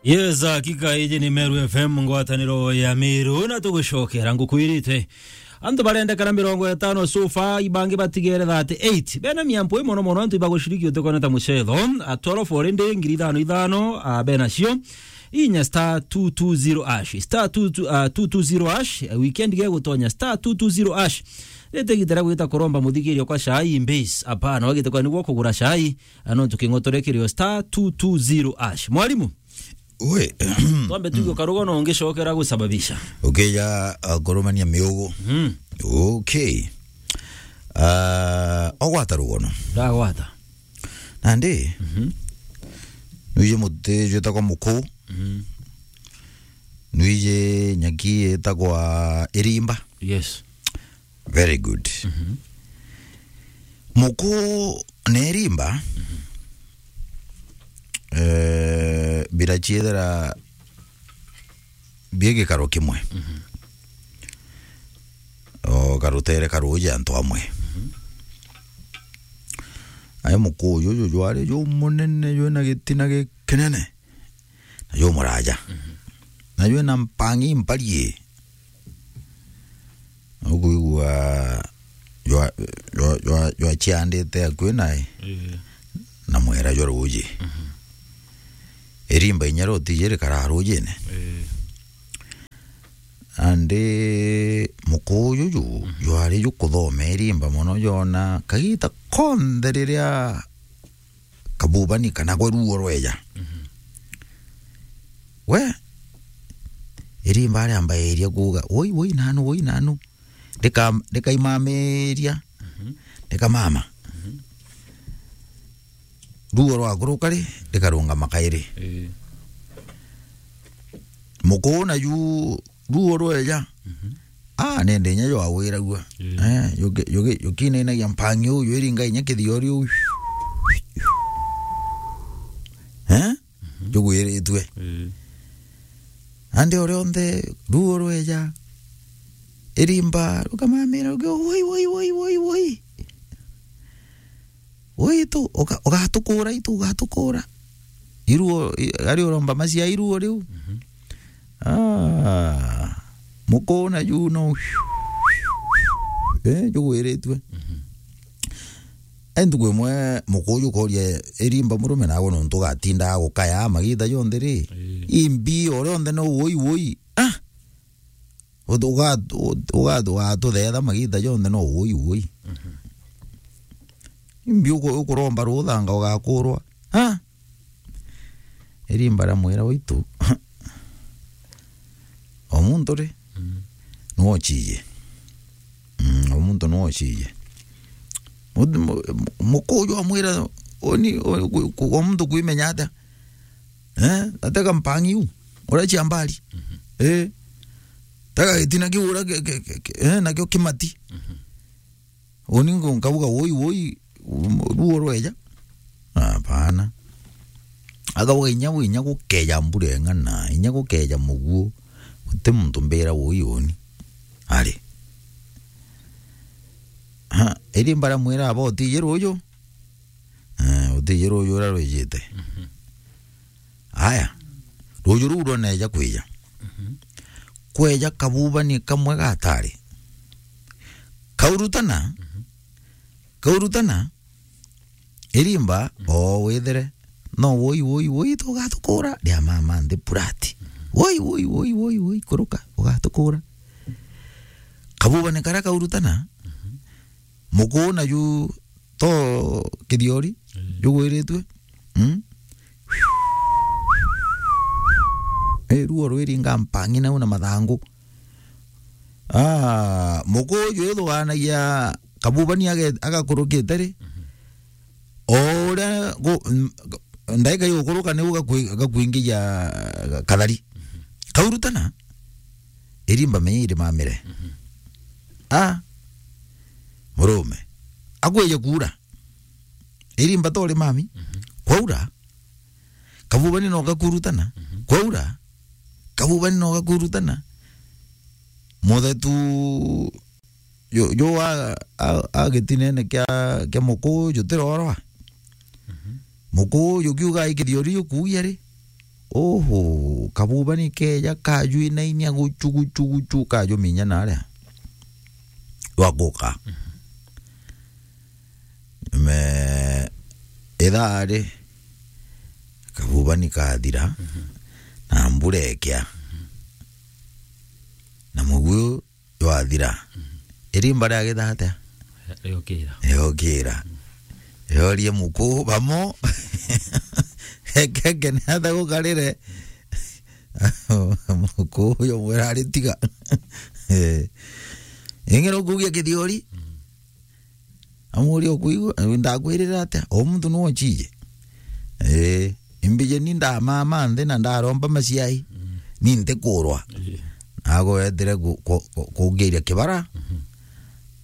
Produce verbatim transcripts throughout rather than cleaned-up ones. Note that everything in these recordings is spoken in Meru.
Yes, hakika iji ni Meru F M, ngwataniro ya Meru, na tugucokera ngukwirite. Antu barendekana mirongo itano so far, ibangi batigere thirty-eight. Bena miampo ii mono mono, antu ibaguciriki utikona ta mucetho. A twelve already, ngiri ithano ithano, a, benacio. Inya star two two zero hash. Star two two, a, two two zero hash. A, weekend gegutonya star two two zero hash. Rite gitera gwita kuromba muthigirio kwa cai in base. Apana, wagite kwa niguo kugura cai. A, no tuking'otore kirio star two two zero hash. Mwalimu? We. Twambe tuge karugono ungicokera gusababisha. Ukija, uh, kurumania miugu. Mm. Okay. Uh, ogwata rugono. Ndagwata. Nandi, mhm, nwiji muti jwitagwa muku. Mhm. Nwiji nyaki yitagwa irimba. Yes. Very good. Mhm. Muku na irimba, mhm, eh, biraciethera bi gikaro kimwe. Mhm. O karutere ka ruuji antu amwe. Mhm. Ai muku uju, uju jwari jumunene, jwina gitina gikinene. Na jumuraja. Mhm. Na jwina mpangi mparie. Ukwigua jwa, jwa, jwa, jwaciandite akui nae. Ii. Na mwera jwa ruuji. Mhm. Irimba inya rutiji rikara ruujine. Ii. Andi muku uju ju, mhm, jwari jukuthoma irimba mono, jona kagita konthe riria kabubani kana gwe ruo rweja. Mhm. We, irimba riambairia kuuga, "Woi, woi, nanu, woi, nanu." Rika-, rikaimamiria, mhm, rikamama. Mhm. Ruo rwakuruka ri, rikarungama kairi. Ii. Muku naju ruo rweja. Mhm. Ah, nende inya jwawiragua. Ii. Eh, juki-, juki-, jukinainagia mpangi uu, jwiringa inya kithiori uu. Eh? Mhm. Jugwiritue. Ii. Andi o rionthe ruo rweja, irimba rukamamira, rukiuga, "Woi, woi, woi, woi, woi." Woi, itu, uga-, ugatukura, itu, ugatukura. Iruo, i-, ari uromba macia iruo riu. Mhm. Ah, muku naju no. Eh, jugwiritue. Mhm. Ai ntuku imwe muku uju ukoria irimba murume nawe nontu ugatindaga gukaya magita jonthe ri. Ii. Imbi o rionthe no woi, woi. Ah! Uga-, uga-, uga-, ugatuthetha magita jonthe no woi, woi. Mhm. Imbi uku-, ukuromba ruthanga ugakurwa. Ha? Irimba riamwira waitu. O muntu ri? Mm. Niwe uciiji. Mm, o muntu niwe uciiji. Mu-, mu-, muku uju amwira, oni, o, ku-, ku-, o muntu kwimenya atia? Eh, atega mpangi u, uria cia mbari. Mhm. Eh. Tega gitina kiu uria ki-, ki-, ki-, ki-, eh, nakio kimati. Mhm. Uni ngo-, nkauga, "Woi, woi, um, ruo rweja." Hapana. Akauga, "Inya gu-, inya gukeja mbura ing'ana, inya gukeja muguo, guti muntu mbira woi uni." Ari. Ha, iri mbaramwira aba utiji ruju? Eh, utiji ruju uria rwijite. Mhm. Aya, ruju ruu rwoneja kwija. Mhm. Kweja kabubani kamwe gatari. Kaurutana, mhm, kaurutana, irimba, mhm, o withire, no woi, woi, woi, tugatukura, ria mama nthi purati. Mhm. Woi, woi, woi, woi, woi, kuruka, ugatukura. Kabubani karia kaurutana, mhm, muku naju to kithiori, mm, jugwiritue. Mm? Eh, ruo rwiringa mpangi nau na mathangu. Ah, muku uju ithuganagia kabubani age-, agakurukite ri. Mhm. O uria gu-, m-, ndaika igukuruka niu gakwi-, gakwingia kathari. Mhm. Kaurutana, irimba menya irimamire. Mhm. Ah, murume. Akwije kuura. Irimba tori mami. Mhm. Kwaura. Kabubani no gakurutana. Mhm. Kwaura. Kabubani no gakurutana. Muthetu ju-, ju a, a, a gitinene kia, kia muku jutirorwa. Mhm. Muku jukiuga ikithiori jukuugia ri. Oho, kabuba ni keja kajwinainia guchu, guchu, guchu, kajuminya naria. Waguka. Me, ithaa ri, kabuba ni kathira, na mbura ikia. Na muguyu jwathira. Irimba riagitha atia? Riokira. Riokira. Riorie muku bamo. Ekeke ni atia gukarire. Muku uyu mwira ari tiga. Eh. Ingi nukugia kithiori? Amuria ukuigua, ndakwirira atia? O muntu no ochije. Eh, imbije ni ndamama nthi na ndaromba maciai. Ni ntikurwa. Ii. Nago wetire ku-, ku-, ku-, kungiria kibara.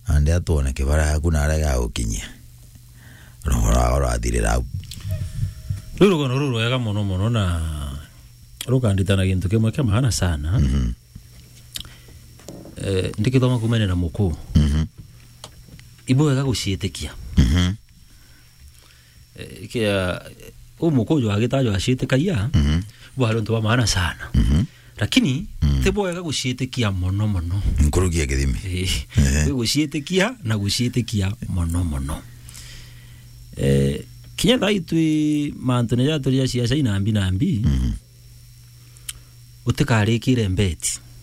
Ande atwone kibara yaku naria gagukinyia. Rogora urathirira au. Ruu rugono rurwega mono mono na rukanditana gintu kimwe kia maana sana. Eh, ndikithoma kumene na muku. Ibwega guciitikia. Eh, kia, u muku uju agitajwa aciitikagia, bwari untu bwa maana sana. Lakini, ti bwega guciitikia mono mono. Nkurukia kithimi. Eh, ti guciitikia na guciitikia mono mono. Eh, kinya thaa itwi mantune jaturi ja ciaca inambi nambi, utikarikire mbeti.